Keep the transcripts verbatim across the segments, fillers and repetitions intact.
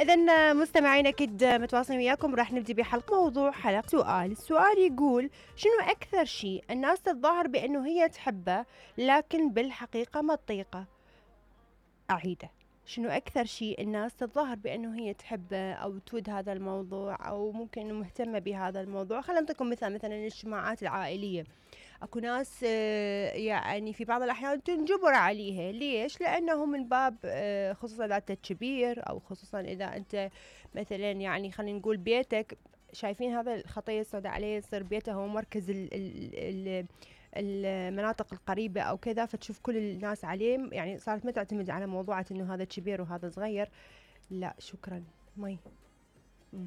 إذن مستمعين أكيد متواصلين وياكم، راح نبدي بحلقة موضوع حلقة سؤال. السؤال يقول: شنو أكثر شيء الناس تتظاهر بأنه هي تحبه لكن بالحقيقة ما تطيقه؟ أعيده، شنو أكثر شيء الناس تتظاهر بأنه هي تحبه أو تود هذا الموضوع أو ممكن مهتمة بهذا الموضوع؟ خلينا نعطيكم مثال، مثلا الاجتماعات العائلية، اكو ناس يعني في بعض الاحيان تنجبر عليها. ليش؟ لانه من باب خصوصا اذا انت كبير او خصوصا اذا انت مثلا يعني خلينا نقول بيتك شايفين هذا الخطية السوداء عليه، يصير بيته هو مركز ال ال المناطق القريبة او كذا، فتشوف كل الناس عليه، يعني صارت ما تعتمد على موضوعة انه هذا كبير وهذا صغير. لا شكرا مي. م.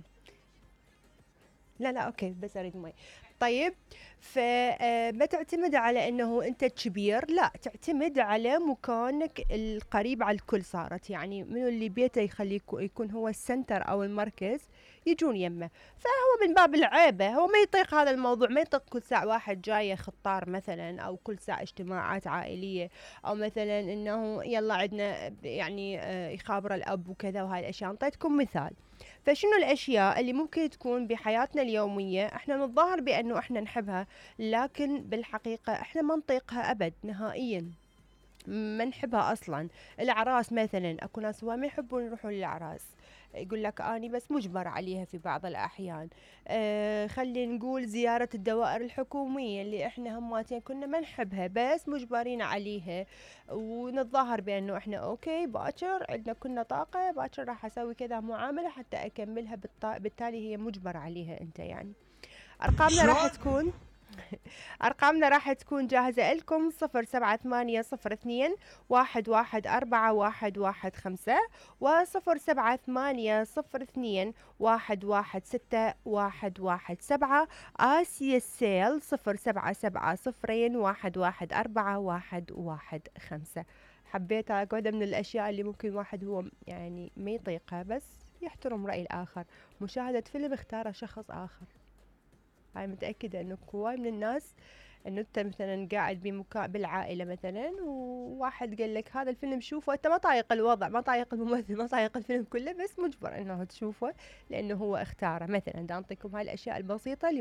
لا لا اوكي بس اريد مي. طيب، فما تعتمد على انه انت كبير، لا تعتمد على مكانك القريب على الكل. صارت يعني منو اللي بيته يخليه يكون هو السنتر او المركز يجون يمه. فهو من باب العيبة هو ما يطيق هذا الموضوع، ما يطيق كل ساعة واحد جاي خطار مثلا، او كل ساعة اجتماعات عائلية، او مثلا انه يلا عندنا يعني يخابر الاب وكذا وهاي الاشياء. انطيتكم مثال. فشنو الاشياء اللي ممكن تكون بحياتنا اليومية احنا نتظاهر بانه احنا نحبها لكن بالحقيقة احنا ما نطيقها ابد نهائيا، ما نحبها اصلا؟ الاعراس مثلا، اكو ناس ما يحبون يروحون للاعراس، يقول لك اني بس مجبر عليها في بعض الاحيان. آه خلينا نقول زيارة الدوائر الحكومية اللي احنا هماتين كنا ما نحبها بس مجبرين عليها، ونتظاهر بانه احنا اوكي باكر عندنا كنا طاقة، باكر راح اسوي كذا معاملة حتى اكملها، بالتالي هي مجبر عليها انت. يعني ارقامنا راح تكون أرقامنا راح تكون جاهزة لكم: صفر سبعة ثمانية صفر اثنين واحد واحد أربعة واحد واحد خمسة وصفر سبعة ثمانية صفر اثنين واحد واحد ستة واحد واحد سبعة. آسيا السيل صفر سبعة سبعة صفرين واحد واحد أربعة واحد واحد خمسة. حبيت واحدة من الأشياء اللي ممكن واحد هو يعني ما يطيقها بس يحترم رأي الآخر. مشاهدة فيلم اختاره شخص آخر. هاي متأكدة انه هواي من الناس انه انت مثلا قاعد بمكان بالعائلة مثلا وواحد قال لك هذا الفيلم شوفه، انت ما طايق الوضع، ما طايق الممثل، ما طايق الفيلم كله، بس مجبر انه تشوفه لانه هو اختاره مثلا. دا انطيكم هاي الاشياء البسيطة اللي